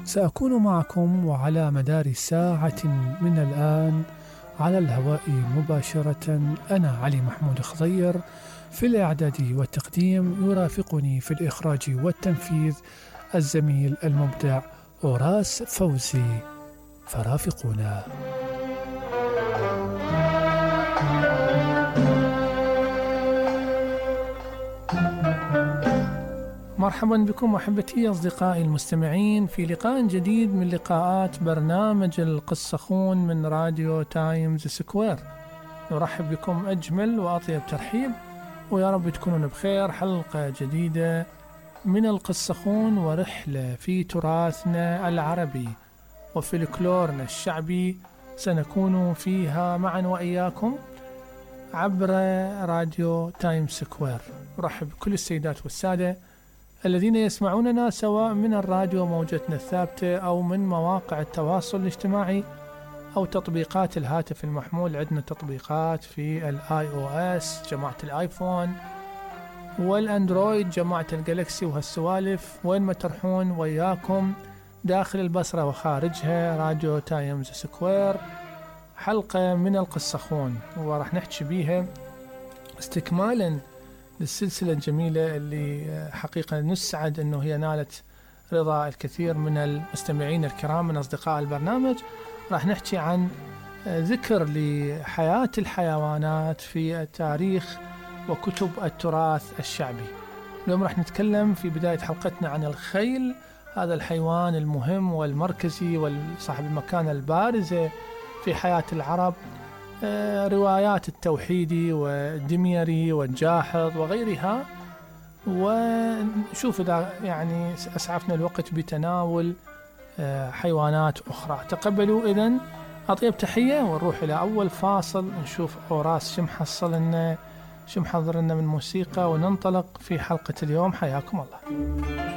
سأكون معكم وعلى مدار ساعة من الآن على الهواء مباشرة. أنا علي محمود خضير، في الإعداد والتقديم يرافقني في الإخراج والتنفيذ الزميل المبدع أوراس فوزي، فرافقونا. مرحبا بكم أحبتي أصدقائي المستمعين في لقاء جديد من لقاءات برنامج القصخون من راديو تايمز سكوير. نرحب بكم أجمل وأطيب ترحيب، ويا رب تكونون بخير. حلقة جديدة من القصخون ورحلة في تراثنا العربي وفلكلورنا الشعبي سنكون فيها معا وإياكم عبر راديو تايمز سكوير. نرحب بكل السيدات والسادة الذين يسمعوننا سواء من الراديو موجتنا الثابتة أو من مواقع التواصل الاجتماعي أو تطبيقات الهاتف المحمول. عندنا تطبيقات في الاي او اس جماعة الايفون والاندرويد جماعة الجالكسي وهالسوالف. وين ما ترحون وياكم داخل البصرة وخارجها راديو تايمز سكوير. حلقة من القصخون وراح نحكي بيها استكمالا للسلسلة الجميلة اللي حقيقة نسعد أنه هي نالت رضا الكثير من المستمعين الكرام من أصدقاء البرنامج. راح نحكي عن ذكر لحياة الحيوانات في التاريخ وكتب التراث الشعبي. اليوم راح نتكلم في بداية حلقتنا عن الخيل، هذا الحيوان المهم والمركزي وصاحب المكانة البارزة في حياة العرب. روايات التوحيدي والدميري والجاحظ وغيرها، ونشوف إذا يعني أسعفنا الوقت بتناول حيوانات أخرى. تقبلوا إذن أطيب تحية ونروح إلى أول فاصل نشوف أوراس شو محضر لنا من موسيقى وننطلق في حلقة اليوم. حياكم الله.